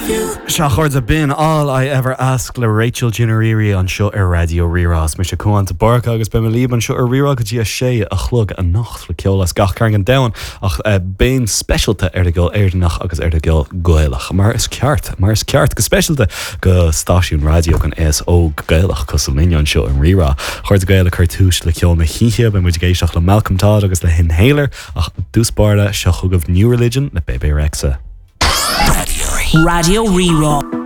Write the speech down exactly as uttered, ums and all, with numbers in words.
Sea a chairde b'in All I Ever Ask le Rachel Chinouriri anseo ar Raidió Rí-Rá is mise Cuán de Búrca agus beidh mé libh anseo ar Rí-Rá go dtí a sé a chlog anocht le ceol as gach cearn den domhan ach uh, béim speisialta ar an gceol Éireannach agus ar an gceol Gaelach mar is ceart mar is ceart go speisialta go stáisiún raidió don aos óg Gaelach cosúil linn anseo in Rí-Rá. Chairde Gael ag cur tús le ceol na hoíche beidh muid ag éisteacht le Malcolm Todd agus le Inhaler ach dtús báire seo chugaibh New Religion le Bebe Rexha. Raidió Rí-Rá.